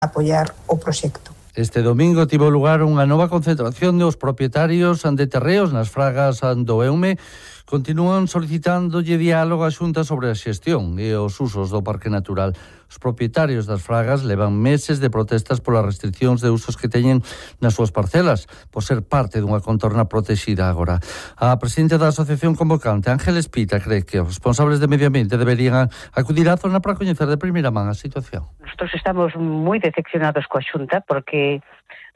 apoiar o proxecto. Este domingo tivo lugar unha nova concentración dos propietarios de terreos nas fragas do Eume. Continúan solicitándolle diálogo á Xunta sobre a xestión e os usos do Parque Natural. Os propietarios das fragas levan meses de protestas polas restriccións de usos que teñen nas súas parcelas, por ser parte dunha contorna protexida agora. A presidenta da Asociación Convocante, Ángeles Pita, cree que os responsables de medio ambiente deberían acudir á zona para coñecer de primeira man a situación. Nosotros estamos moi decepcionados coa Xunta porque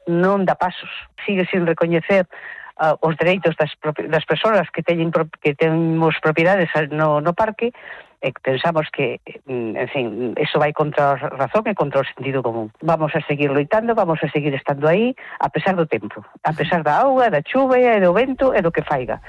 non dá pasos, sigue sin recoñecer os dereitos das persoas que temos propiedades no parque, e pensamos que, en fin, eso vai contra a razón e contra o sentido común. Vamos a seguir loitando, vamos a seguir estando aí, a pesar do tempo, a pesar da auga, da chuvia e do vento e do que faiga.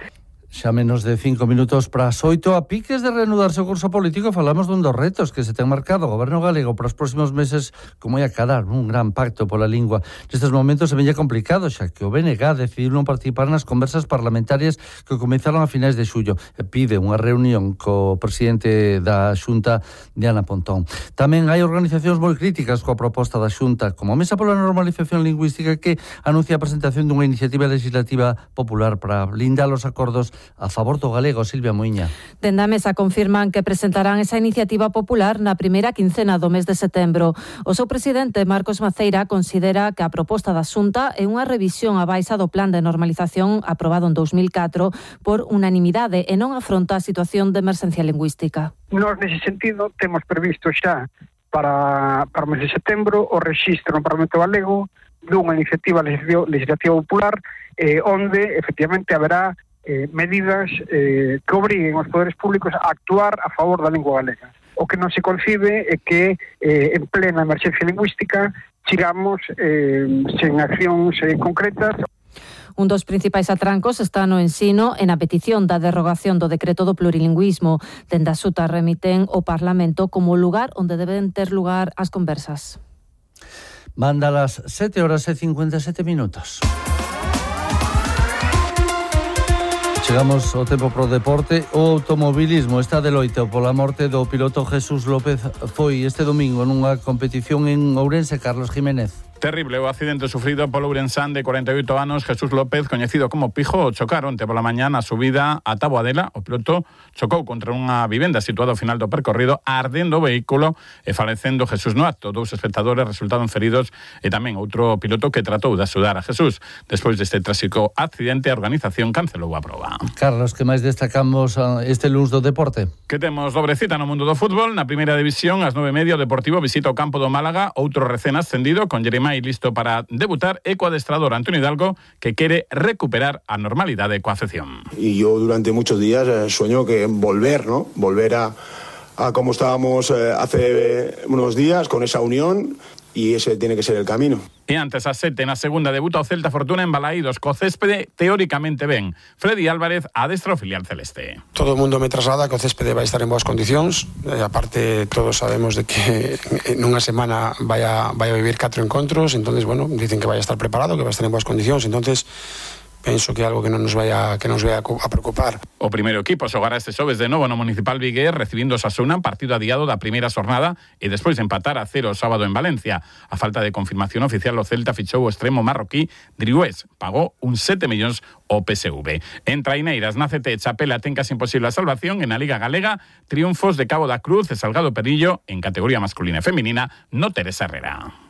Xa menos de 5 minutos para as 8, a piques de reanudarse o curso político, falamos dun dos retos que se ten marcado o Goberno galego para os próximos meses, como é acadar un gran pacto pola lingua. Nestes momentos se veña complicado, xa que o BNG decidiu non participar nas conversas parlamentarias que comenzaron a finais de xullo e pide unha reunión co presidente da Xunta, Diana Pontón. Tamén hai organizacións moi críticas coa proposta da Xunta, como a Mesa pola Normalización Lingüística, que anuncia a presentación dunha iniciativa legislativa popular para blindar os acordos a favor do galego. Silvia Moiña. Dende a Mesa confirman que presentarán esa iniciativa popular na primeira quincena do mes de setembro. O seu presidente, Marcos Maceira, considera que a proposta da Xunta é unha revisión á baixa do plan de normalización aprobado en 2004 por unanimidade e non afronta a situación de emerxencia lingüística. Nós, nese sentido, temos previsto xa para o mes de setembro o rexistro no Parlamento Galego dunha iniciativa legislativa popular onde, efectivamente, haberá medidas que obriguen os poderes públicos a actuar a favor da lingua galega. O que non se concibe é que en plena emerxencia lingüística chegamos sen accións concretas. Un dos principais atrancos está no ensino e na petición da derrogación do decreto do plurilingüismo. Dende a Xunta remiten o Parlamento como lugar onde deben ter lugar as conversas. Manda las 7:57 minutos. Chegamos ao tempo pro deporte. O automobilismo está de loito pola morte do piloto Jesús López. Foi este domingo nunha competición en Ourense. Carlos Jiménez. Terrible o accidente sufrido polo ourensán de 48 anos Jesús López, coñecido como Pijo. Chocaron onte pola mañá na subida a Taboadela. O piloto chocou contra unha vivenda situada ao final do percorrido, ardendo o vehículo e falecendo Jesús no acto. 2 espectadores resultaron feridos e tamén outro piloto que tratou de axudar a Jesús. Despois deste tráxico accidente, a organización cancelou a proba. Carlos, que máis destacamos este luns do deporte? Que temos dobre cita no mundo do fútbol. Na primeira división, ás 9:30, o Deportivo visita o campo do Málaga, outro recén ascendido, con Jeremai listo para debutar, e co adestrador Antonio Hidalgo, que quere recuperar a normalidade coa afección. Y yo durante muchos días sueño que volver, ¿no? Volver a como estábamos hace unos días, con esa unión, y ese tiene que ser el camino. E antes a 7 na segunda debuta o Celta Fortuna en Balaídos, co céspede teóricamente ben. Freddy Álvarez adestra o filial celeste. Todo o mundo me traslada que o céspede vai estar en boas condicións. Aparte, todos sabemos de que nunha semana vai a vivir 4 encontros. Entonces, bueno, dicen que vai a estar preparado, que vai a estar en boas condicións. Entonces, penso que é algo que non nos vai a preocupar. O primeiro equipo xogará este xoves de novo no Municipal Vigués, recibindo o Osasuna, partido adiado da primeira xornada, e despois de empatar a 0 o sábado en Valencia. A falta de confirmación oficial, o Celta fichou o extremo marroquí Drioués, pagou uns 7 millóns ao PSV. En traineiras, na CT, Chapela ten casi imposible a salvación. En a Liga Galega, triunfos de Cabo da Cruz e Salgado Perillo, en categoría masculina e feminina, no Teresa Herrera.